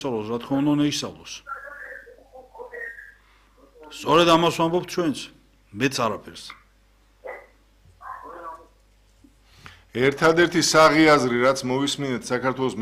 სწავლოს, რა თქმა უნდა, ისწავლოს. სწორედ ამას ვამბობთ ჩვენც, მეც არაფერს. ერთადერთი საღი აზრი, რაც მოვისმინეთ საქართველოს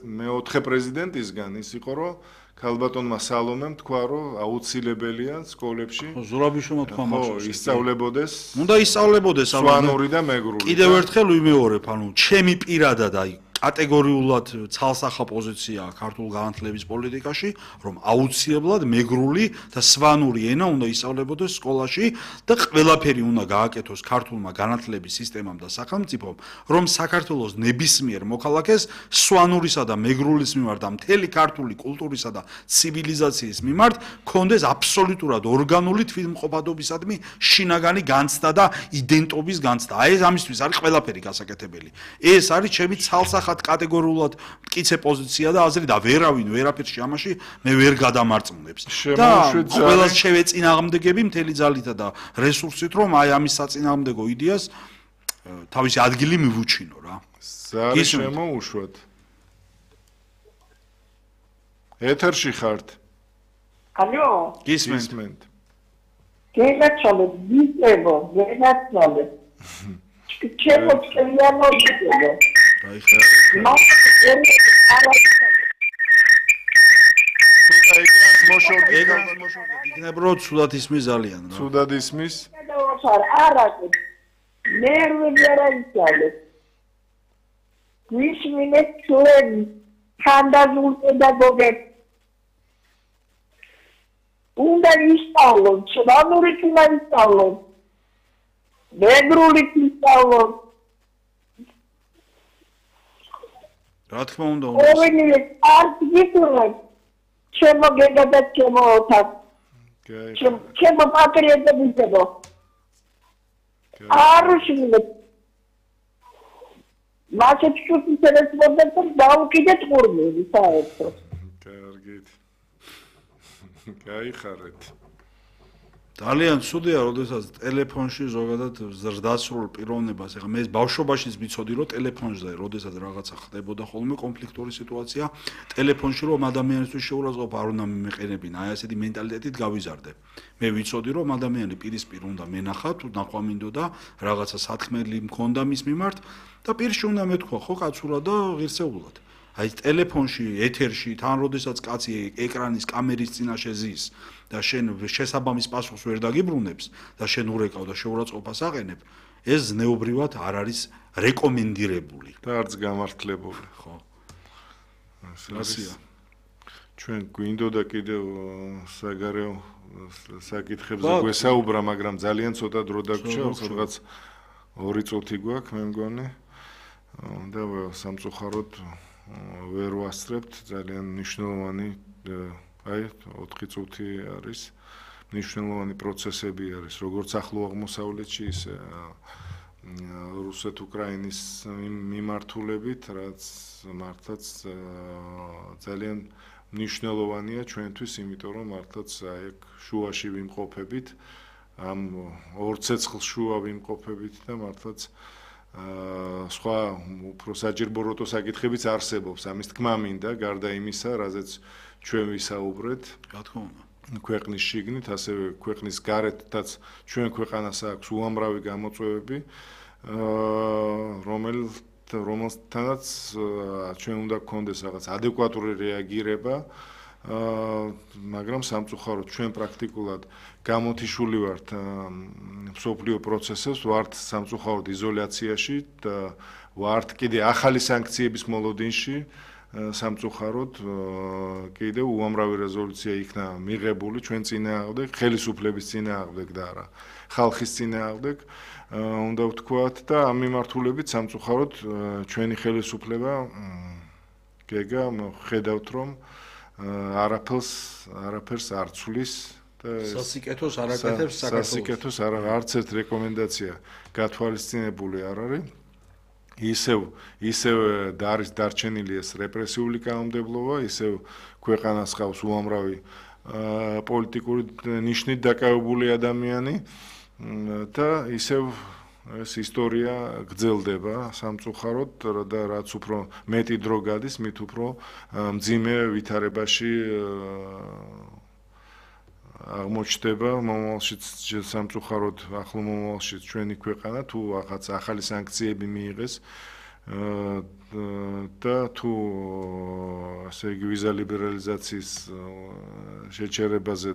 მეოთხე პრეზიდენტისგან, ის იყო, რომ ქალბატონმა სალომემ თქვა, რომ აუცილებელია სკოლებში ზურაბიშვილმა თქვა მაშინ ისწავლებოდეს. უნდა ისწავლებოდეს სვანური და მეგრული. კიდევ ერთხელ ვიმეორებ, ჩემი პირადად კატეგორიულად ცალსახა პოზიცია ქართულ განათლების პოლიტიკაში, რომ აუცილებლად მეგრული და სვანური ენა უნდა ისწავლებოდეს სკოლაში და ყველაფერი უნდა გააკეთოს ქართულმა განათლების სისტემამ და სახელმწიფომ, რომ საქართველოს ნებისმიერ მოქალაქეს სვანურისა და მეგრულის მიმართ და მთელი ქართული კულტურისა და ცივილიზაციის მიმართ ქონდეს აბსოლუტურად ორგანული თვითმყოფადობისადმი შინაგანი განცდა და იდენტობის განცდა. ეს ამისთვის არის ყველაფერი გასაკეთებელი. ეს არის ჩემი ცალსახა კატეგორიულად მტკიცე პოზიცია და აზრი და ვერავინ ვერაფერში ამაში მე ვერ გადამარწმუნებს. და ყველას შევეწინააღმდეგები მთელი ძალითა და რესურსით, რომ ამის საწინააღმდეგო იდეას თავისი ადგილი მივუჩინო რა. ზარი შემოუშვათ. ეთერში ხართ. ალო? გისმენთ. გენაცვალე, გენაცვალე. ჩემო წელიანობიდო. ცოტა ეკრანს მოშორდით. იქნებ რომ ცუდად ისმის ძალიან რა. ცუდად ისმის? არა. ნერვები არა ისწავლე. გვისმინეთ ჩვენ ხანდაზულ პედაგოგებს. უნდა ისწავლონ, სვანური უნდა ისწავლონ. მეგრული ისწავლონ. რა თქმა უნდა. ორივე არქიტექტურა ჩემო გეგა და ჩემო ოთახ. ჩემო პატრიოტებისებო. არუშინე. მაშინ ჩუთი სერესმოდეთ დაუკიდეთ ყურმელი საერთოდ. კარგით. გაიხარეთ. ძალიან ცუდია, როდესაც ტელეფონში ზოგადად ზრდასრულ პიროვნებას, ეხლა მე ბავშვობაშიც ვიცოდი, რომ ტელეფონზე, როდესაც რაღაცა ხდებოდა ხოლმე კონფლიქტური სიტუაცია, ტელეფონში რომ ადამიანისთვის შეურაცხყოფა არ უნდა მიმეყენებინა, აი ასეთი მენტალიტეტით გავიზარდე. მე ვიცოდი, რომ ადამიანი პირისპირ უნდა მენახა, თუ ნახვამინდოდა, რაღაცა სათქმელი მქონდა მის მიმართ და პირში უნდა მეთქვა, ხო, კაცურად და ღირსეულად. აი ტელეფონში, ეთერში, თან როდესაც კაცი ეკრანის კამერის წინაშე ზის და შენ შესაბამის პასუხს ვერ დაგიბრუნებს და შენ ურეკავ და შეურაცხყოფას აყენებ, ეს ზნეობრივად არ არის რეკომენდირებული და არც გამართლებული, ხო. ასია. ჩვენ გვინდოდა კიდევ საგარეო საკითხებზე გვესაუბრა, მაგრამ ძალიან ცოტა დრო დაგვრჩა, რაღაც 2 წუთი გვაქვს, მე მგონი. და სამწუხაროდ ვერ ვასწრებთ, ძალიან მნიშვნელოვანი აი 4 წუთი არის მნიშვნელოვანი პროცესები არის როგორც ახლო აღმოსავლეთში ისე რუსეთ-უკრაინის მიმართულებით, რაც მართლაც ძალიან მნიშვნელოვანია ჩვენთვის, იმიტომ რომ მართლაც აი შუაში ვიმყოფებით, ამ ორ ცეცხლ შუა ვიმყოფებით და მართლაც სხვა უფრო საჯირო საკითხებიც არსებობს, ამის თქმა მინდა, გარდა იმისა, რაზეც ჩვენ ვისაუბრეთ, რა თქმა უნდა, ქვეყნის შიგნით, ასევე ქვეყნის გარეთაც ჩვენ ქვეყანას აქვს უამრავი გამოწვევები, რომელთანაც ჩვენ უნდა გქონდეს რაღაც ადეკვატური რეაგირება, მაგრამ სამწუხაროდ ჩვენ პრაქტიკულად გამოთიშული ვართ მსოფლიო პროცესებს, ვართ სამწუხაროდ იზოლაციაში და ვართ კიდე ახალი სანქციების მოლოდინში. სამწუხაროდ კიდევ უამრავი რეზოლუცია იქნა მიღებული ჩვენ წინააღმდეგ, ხელისუფლების წინააღმდეგ და არა ხალხის წინააღმდეგ, უნდა ვთქვათ და ამ მიმართულებით სამწუხაროდ ჩვენი ხელისუფლება გეგა ხედავთ რომ არაფერს არ ცვლის და სასიკეთოს არ აკეთებს საქართველოს. სასიკეთოს არც ერთ რეკომენდაცია გათვალისწინებული არ არის. ისევ არის დარჩენილი ეს რეპრესიული კანონმდებლობა, ისევ ქვეყანას ხავს უამრავი პოლიტიკური ნიშნით დაკავებული ადამიანი და ისევ ეს ისტორია გრძელდება სამწუხაროდ და რაც უფრო მეტი დრო გადის, მით უფრო მძიმე ვითარებაში აღმოჩნდება მომავალში სამწუხაროდ ახლო მომავალში ჩვენი ქვეყანა თუ რაღაც ახალი სანქციები მიიღეს და თუ ასე იგი ვიზა ლიბერალიზაციის შეჩერებაზე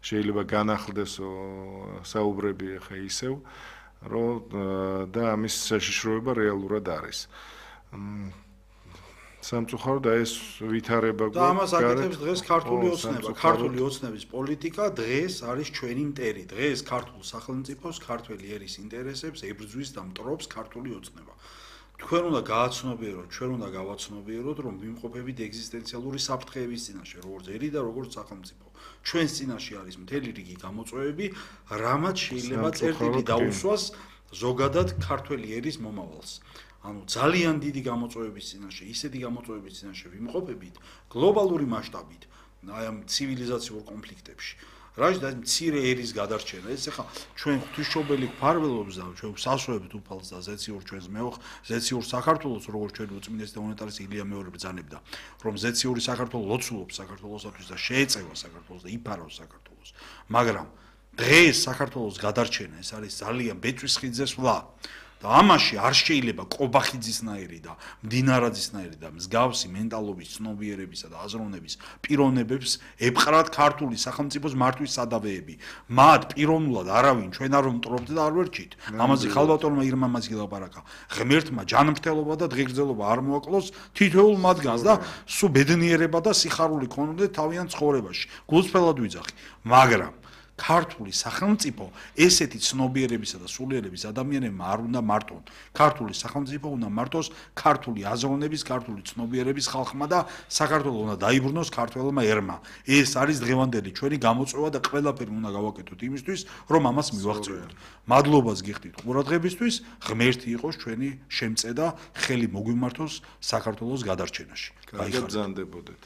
შეიძლება განახლდეს საუბრები ხა ისევ რომ და ამის საშიშროება რეალურად არის. სამწუხაროდ ეს ვითარება და ამას აკეთებს დღეს ქართული ოცნება. ქართული ოცნების პოლიტიკა დღეს არის ჩვენი მტერი. დღეს ქართულ სახელმწიფოს, ქართველი ერის ინტერესებს ებრძვის და მტრობს ქართული ოცნება. თქვენ უნდა გააცნობიეროთ, ჩვენ უნდა გავაცნობიეროთ, რომ ვიმყოფებით ეგზისტენციალური საფრთხეების წინაშე, როგორც ერი და როგორც სახელმწიფო. ჩვენს წინაშე არის მთელი რიგი გამოწვევები, რამაც შეიძლება წერტილი დაუსვას ზოგადად ქართველი ერის მომავალს. ანუ ძალიან დიდი გამოწვევების წინაშე, ისეთი გამოწვევების წინაშე ვიმყოფებით გლობალური მასშტაბით, აი ამ ცივილიზაციურ კონფლიქტებში. რაც და მცირე ერის გადარჩენა. ეს ახლა ჩვენ ღვთისმშობელი გვფარველობს და ჩვენ ვსასვევთ უფალს და ზეციურ ჩვენს ზეციურ საქართველოს, როგორც ჩვენი უწმინდესი და უნეტარესი ილია მეორე ბრძანებდა, რომ ზეციური საქართველო ლოცულობს საქართველოსათვის და შეეწევა საქართველოს და იფარავს საქართველოს. მაგრამ დღეს საქართველოს გადარჩენა ეს არის ძალიან ბეწვის ხიძზე სვლა. და ამაში არ შეიძლება კობახიძისნაირი და მდინარაძისნაირი და მსგავსი მენტალობის ცნობიერებისა და აზროვნების პიროვნებებს ეპყრათ ქართული სახელმწიფოს მართვის სადავეები. მათ პიროვნულად არავინ ჩვენ არ ვმტრობთ და არ ვერჩით. ამაზე ხალბატონმა ირმა მას გილაპარაკა. ღმერთმა ჯანმრთელობა და დღეგრძელობა არ მოაკლოს თითოეულ მათგანს და სულ ბედნიერება და სიხარული ქონოდეთ თავიანთ ცხოვრებაში. გულწრფელად ვიძახი. მაგრამ ქართული სახელმწიფო ესეთი ცნობიერებისა და სულიერების ადამიანებმა არ უნდა მარტონ. ქართული სახელმწიფო უნდა მარტოს ქართული აზროვნების, ქართული ცნობიერების ხალხმა და საქართველოს უნდა დაიბრუნოს ქართველმა ერმა. ეს არის დღევანდელი ჩვენი გამოწვევა და ყველაფერი უნდა გავაკეთოთ იმისთვის, რომ ამას მივაღწევოთ. მადლობას გიხდით ყურადღებისთვის, ღმერთი იყოს ჩვენი შემწე და ხელი მოგვიმართოს საქართველოს გადარჩენაში. კარგად ბრძანდებოდეთ.